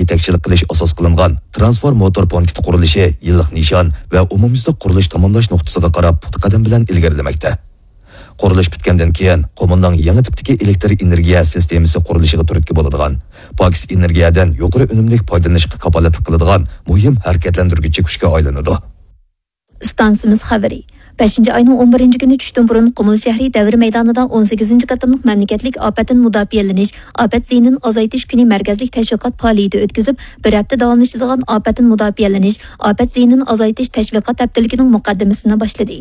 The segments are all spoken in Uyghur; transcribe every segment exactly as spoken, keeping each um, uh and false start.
يېتەكچىلىك قىلىش ئاساس قىلىنغان ترانسفورماتور پونكىتى قۇرۇلۇشى يىللىق نىشان ۋە ئومۇميۈزلۈك قۇرۇلۇش تاماملاش نۇقتىسىغا قاراپ پۇختا قەدەم بىلەن ئىلگىرىلىمەكتە. قۇرۇلۇش پۈتكەندىن كېيىن، قۇمۇلنىڭ يېڭى تىپتىكى ئېلېكتر ئېنېرگىيە سىستېمىسى قۇرۇلۇشىغا تۈرتكە بولىدىغان، پاكىز ئېنېرگىيەدىن يۇقىرى ئۈنۈملۈك پايدىلىنىشقا كاپالەتلىك قىلىدىغان مۇھىم ھەرىكەتلەندۈرگۈچى كۈچكە ئايلىنىدۇ. ئىستانسىمىز خەۋىرى. بەشىنچى ئاينىڭ ئون بىرىنچى كۈنى چۈشتىن بۇرۇن قۇمۇل شەھىرى دەۋر مەيدانىدا ئون سەككىزىنچى قېتىملىق مەملىكەتلىك ئاپەتتىن مۇداپىئەلىنىش، ئاپەت زىيىنىنى ئازايتىش كۈنى مەركەزلىك تەشۋىقات پائالىيىتى ئۆتكۈزۈپ، بىر ھەپتە داۋاملىشىدىغان ئاپەتتىن مۇداپىئەلىنىش، ئاپەت زىيىنىنى ئازايتىش تەشۋىقات ھەپتىلىكىنىڭ مۇقەددىمىسىنى باشلىدى.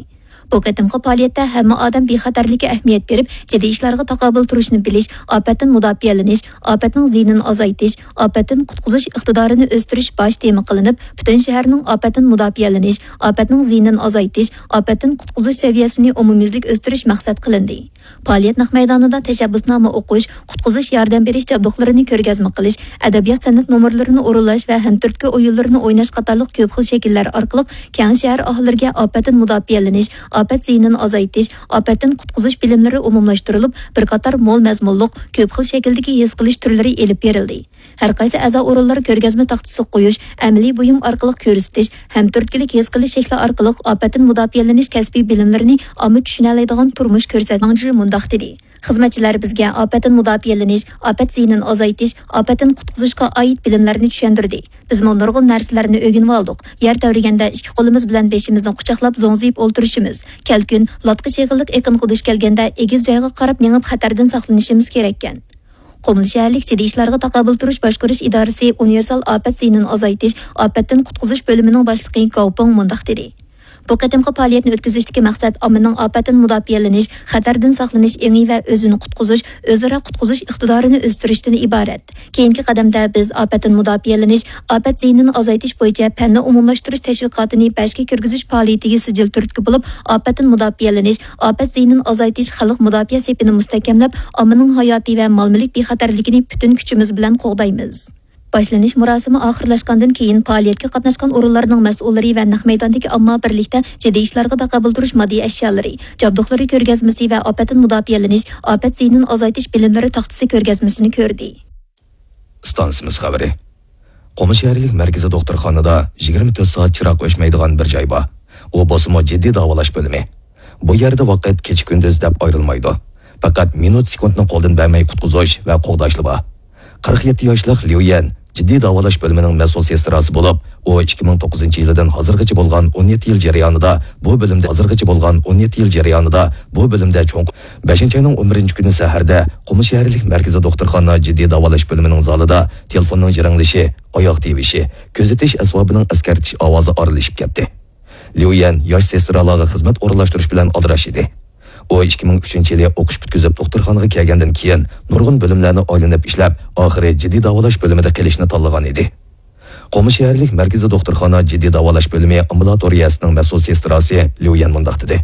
بۇ قېتىمقى پائالىيەتتە ھەممە ئادەم بىخەتەرلىككە ئەھمىيەت بېرىپ، جىددىي ئىشلارغا تاقابىل تۇرۇشنى بىلىش، ئاپەتتىن مۇداپىئەلىنىش، ئاپەتنىڭ زىيىنىنى ئازايتىش، ئاپەتتىن قۇتقۇزۇش ئىقتىدارىنى ئۆستۈرۈش باش تېما قىلىنىپ، پۈتۈن شەھەرنىڭ ئاپەتتىن مۇداپىئەلىنىش، ئاپەتنىڭ زىيىنىنى ئازايتىش، ئاپەتتىن قۇتقۇزۇش سەۋىيەسىنى ئومۇميۈزلۈك ئۆستۈرۈش مەقسەت قىلىندى. پائالىيەت نەق مەيدانىدا تەشەببۇسنامە ئوقۇش، قۇتقۇزۇش ياردەم بېرىش جابدۇقلىرىنى كۆرگەزمە قىلىش، ئەدەبىيات سەنئەت نومۇرلىرىنى ئورۇنلاش ۋە ھەمتۈرتكە ئويۇنلىرىنى ئويناش قاتارلىق كۆپ خىل شەكىللەر ئارقىلىق كەڭ شەھەر ئاھالىلىرىگە ئاپەتتىن مۇداپىئەلىنىش، ئاپەت زىيىنىنى ئازايتىش، ئاپەتتىن قۇتقۇزۇش بىلىملىرى ئومۇملاشتۇرۇلۇپ، بىر قاتار مول مەزمۇنلۇق، كۆپ خىل شەكىلدىكى ھېس قىلىش تۈرلىرى ئېلىپ بېرىلدى. ھەر قايسى ئەزا ئورۇنلار كۆرگەزمە تاختىسىغا قويۇش، ئەمەلىي بۇيۇم ئارقىلىق كۆرسىتىش، ھەمتۈرتكىلىك ھېس قىلىش شەكلى ئارقىلىق ئاپەتتىن مۇداپىئەلىنىش كەسپىي بىلىملىرىنى ئامما چۈشىنەلەيدىغان تۇرمۇش كۆرسەتمەڭجى مۇنداق دېدى. خىزمەتچىلەر بىزگە ئاپەتتىن مۇداپىئەلىنىش، ئاپەتتىن زىيىنىنى ئازايتىش، ئاپەتتىن قۇتقۇزۇشقا ئائىت بىلىملەرنى چۈشەندۈردى. بىزمۇ نۇرغۇن نەرسىلەرنى ئۆگىنىۋالدۇق. يەر تەۋرىگەندە ئىككى قولىمىز بىلەن بېشىمىزنى قۇچاقلاپ زوڭزىيىپ ئولتۇرۇشىمىز، كەلكۈن، لاتقا چېغىلىق ئېقىنغا دۇچ كەلگەندە ئېگىز جايغا قاراپ مېڭىپ خەتەردىن ساقلىنىشىمىز كېرەككەن. قۇمۇل شەھەرلىك جىددىي ئىشلارغا تاقابىل تۇرۇش باشقۇرۇش ئىدارىسى ئۇنىۋېرسال ئاپەت زىيىنىنى ئازايتىش، ئاپەتتىن قۇتقۇزۇش بۆلۈمىنىڭ باشلىقى گاۋ پېڭ مۇنداق دېدى. بۇ قېتىمقى پائالىيەتنى ئۆتكۈزۈشتىكى مەقسەت ئاممىنىڭ ئاپەتتىن مۇداپىئەلىنىش، خەتەردىن ساقلىنىش ئېڭى ۋە ئۆزىنى قۇتقۇزۇش، ئۆزئارا قۇتقۇزۇش ئىقتىدارىنى ئۆستۈرۈشتىن ئىبارەت. كېيىنكى قەدەمدە بىز ئاپەتتىن مۇداپىئەلىنىش، ئاپەت زىيىنىنى ئازايتىش بويىچە پەننى ئومۇملاشتۇرۇش تەشۋىقاتىنى بەشكە كىرگۈزۈش پائالىيىتىگە سىجىل تۈرتكە بولۇپ، ئاپەتتىن مۇداپىئەلىنىش، ئاپەت زىيىنىنى ئازايتىش خەلق مۇداپىئە سېپىنى مۇستەھكەملەپ، ئاممىنىڭ ھاياتى ۋە مال-مۈلۈك بىخەتەرلىكىنى پۈتۈن كۈچىمىز بىلەن قوغدايمىز. باشلىنىش مۇراسىمى ئاخىرلاشقاندىن كېيىن، پائالىيەتكە قاتناشقان ئورۇنلارنىڭ مەسئۇللىرى ۋە نەق مەيداندىكى ئامما بىرلىكتە جىددىي ئىشلارغا تاقابىل تۇرۇش ماددىي ئەشيالىرى، جابدۇقلىرى كۆرگەزمىسى ۋە ئاپەتتىن مۇداپىئەلىنىش، ئاپەت زىيىنىنى ئازايتىش بىلىملىرى تاختىسى كۆرگەزمىسىنى كۆردى. ئىستانسىمىز خەۋىرى. قۇمۇل شەھەرلىك مەركىزىي دوختۇرخانىدا يىگىرمە تۆت سائەت چىراغ ئۆچمەيدىغان بىر جاي بار. ئۇ بولسىمۇ جىددىي داۋالاش بۆلۈمى. بۇ يەردە ۋاقىت كېچە-كۈندۈز دەپ ئايرىلمايدۇ. پەقەت مىنۇت-سېكۇنتنى قولدىن بەرمەي قۇتقۇزۇش ۋە قوغداشلا بار. قىرىق يەتتە ياشلىق ليۇ يەن جىددىي داۋالاش بۆلۈمىنىڭ مەسئۇل سېستراسى بولۇپ، ئۇ ئىككى مىڭ توققۇزىنچى يىلىدىن ھازىرغىچە بولغان ئون يەتتە يىل جەريانىدا بۇ بۆلۈمدە، ھازىرغىچە بولغان ئون يەتتە يىل جەريانىدا بۇ بۆلۈمدە چوڭ بەشىنچى ئاينىڭ ئون بىرىنچى كۈنى سەھەردە قۇمۇل شەھەرلىك مەركىزىي دوختۇرخانا جىددىي داۋالاش بۆلۈمىنىڭ زالىدا تېلېفوننىڭ جىرىڭلىشى، ئاياغ تىۋىشى، كۆزىتىش ئەسۋابىنىڭ ئەسكەرتىش ئاۋازى ئارىلىشىپ كەتتى. ليۇ يەن ياش سېسترالارغا خىزمەت ئورۇنلاشتۇرۇش بىلەن ئالدىراش ئىدى. ئۇ ئىككى مىڭ ئۈچىنچى يىلى ئوقۇش پۈتكۈزۈپ، دوختۇرخانىغا كەلگەندىن كېيىن، نۇرغۇن بۆلۈملەرنى ئايلىنىپ ئىشلەپ، ئاخىرى جىددىي داۋالاش بۆلۈمىدە قېلىشنى تاللىغان ئىدى. قۇمۇل شەھەرلىك مەركىزىي دوختۇرخانا جىددىي داۋالاش بۆلۈمى ئامبۇلاتورىيەسىنىڭ مەسئۇل سېستراسى ليۇ يەن مۇنداق دېدى: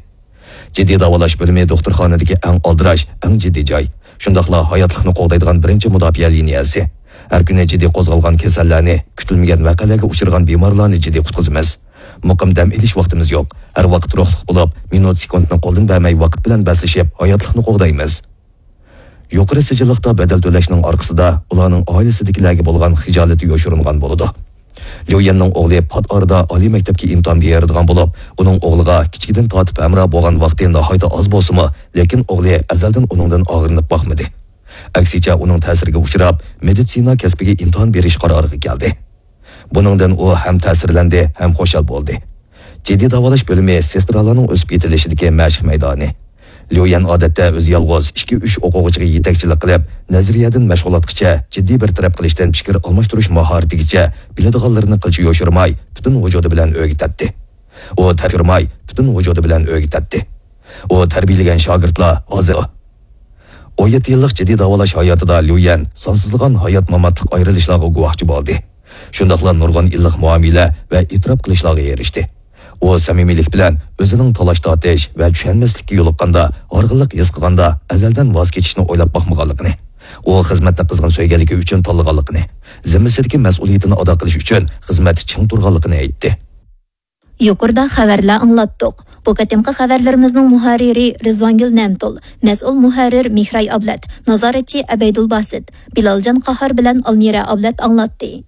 جىددىي داۋالاش بۆلۈمى دوختۇرخانىدىكى ئەڭ ئالدىراش، ئەڭ جىددىي جاي. شۇنداقلا ھاياتلىقنى قوغدايدىغان بىرىنچى مۇداپىئە لىنىيەسى. ھەر كۈنى جىددىي قوزغالغان كېسەللەرنى، كۈتۈلمىگەن ۋەقەلەرگە ئۇچرىغان بىمارلارنى جىددىي قۇتقۇزىمىز. مۇقىم دەم ئېلىش ۋاقتىمىز يوق. ھەر ۋاقىت روھلۇق بولۇپ، مىنۇت-سېكۇنتنى قولدىن بەرمەي ۋاقىت بىلەن بەسلىشىپ، ھاياتلىقنى قوغدايمىز. يۇقىرى سىجىللىقتا بەدەل تۆلەشنىڭ ئارقىسىدا ئۇلارنىڭ ئائىلىسىدىكىلەرگە بولغان خىجالىتى يوشۇرۇنغان بولىدۇ. ليۇ يەننىڭ ئوغلى پات ئارىدا ئالىي مەكتەپكە ئىمتىھان بېرىدىغان بولۇپ، ئۇنىڭ ئوغلىغا كىچىكىدىن تارتىپ ھەمراھ بولغان ۋاقتى ناھايىتى ئاز بولسىمۇ، لېكىن ئوغلى ئەزەلدىن ئۇنىڭدىن ئاغرىنىپ باقمىدى. ئەكسىچە، ئۇنىڭ تەسىرىگە ئۇچراپ، مېدىتسىنا كەسپىگە ئىمتىھان بېرىش قارارىغا كەلدى. بۇنىڭدىن ئۇ ھەم تەسىرلەندى، ھەم خۇشال بولدى. جىددىي داۋالاش بۆلۈمى سېسترالارنىڭ ئۆسۈپ يېتىلىشىدىكى مەشىق مەيدانى. ليۇ يەن ئادەتتە ئۆزى يالغۇز ئىككى-ئۈچ ئوقۇغۇچىغا يېتەكچىلىك قىلىپ، نەزەرىيەدىن مەشغۇلاتقىچە، جىددىي بىر تەرەپ قىلىشتىن پىكىر ئالماشتۇرۇش ماھارىتىگىچە بىلىدىغانلىرىنى قىلچە يوشۇرماي، پۈتۈن ۋۇجۇدى بىلەن ئۆگىتەتتى. ئۇ تەربىيەلىماي، پۈتۈن ۋۇجۇدى بىلەن ئۆگىتەتتى. ئۇ تەربىيەلىگەن شاگىرتلار ھازىر. ئون يەتتە يىللىق جىددىي داۋالاش ھاياتىدا ليۇ يەن سانسىزلىغان ھايات-ماماتلىق ئايرىلىشلارغا گۇۋاھچى بولدى. شۇنداقلا نۇرغۇن ئىللىق مۇئامىلە ۋە ئېتىراپ قىلىشلارغا ئېرىشتى. ئۇ سەمىمىيلىك بىلەن ئۆزىنىڭ تالاش-تارتىش ۋە چۈشەنمەسلىككە يولۇققاندا، ھارغىنلىق ھېس قىلغاندا، ئەزەلدىن ۋاز كېچىشنى ئويلاپ باقمىغانلىقىنى، ئۇ خىزمەتنى قىزغىن سۆيگەنلىكى ئۈچۈن تاللىغانلىقىنى، زىممىسىدىكى مەسئۇلىيىتىنى ئادا قىلىش ئۈچۈن خىزمەتتە چىڭ تۇرغانلىقىنى ئېيتتى. يۇقىرىدا خەۋەرلەر ئاڭلاتتۇق. بۇ قېتىمقى خەۋەرلىرىمىزنىڭ مۇھەررىرى رىزۋانگۈل نەمتۇل، مەسئۇل مۇھەررىر مېھراي ئابلەت، نازارەتچى ئەبەيدۇل باسىت، بىلالجان قاھار بىلەن ئالمىرە ئابلەت ئاڭلاتتى.